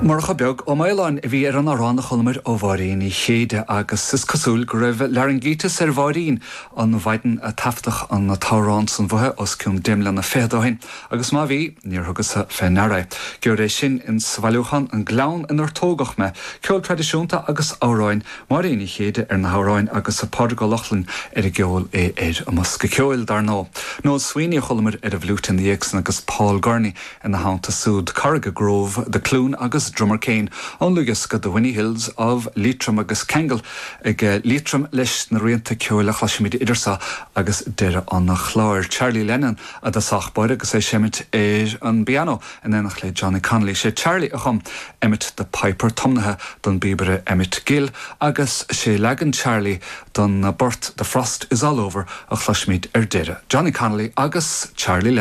Murchadh Beag Ó Maoláin a bhí ar an amhrán a chualamar ó Mháirín Ní Chéide agus is cosúil go raibh laraingíteas ar Mháirín an mhaidin a taifeadadh an t-amhrán san uaithi os cionn deich mbliana fichead ó shin agus má bhí, níor thugas-sa fé ndeara é. Gheobhair é sin ins sa bhailiúchán An Gleann Inar Tógadh Mé, ceol traidisiúnta agus amhráin, Máirín Ní Chéide ar na hamhráin agus Pádraig Ó Lochlainn ar an gceol, é ar an mbosca ceoil, dar ndóigh. Noel Sweeney a chualamar ar an bhfliúit ina dhiaidh san agus Paul Gurney Ina theannta súd, Corragagh Grove, The Cloon agus Drummercane ón ndlúthdhiosca The Winny Hills of Leitrim agus ceangal ag Liatroim leis na rianta ceoil a chloisfimid idir seo agus deireadh an chláir. Charlie Lennon i dtosach báire agus é ag seimint ar an bpianó in éineacht le Johnny Connolly. Sé Charlie a chum Emmet the Piper tiomnaithe don bpíobaire Emmet Gill agus sé leagan Charlie don bport The Frost is All Over a chloisfimid ar deireadh. Johnny Connolly agus Charlie Lennon.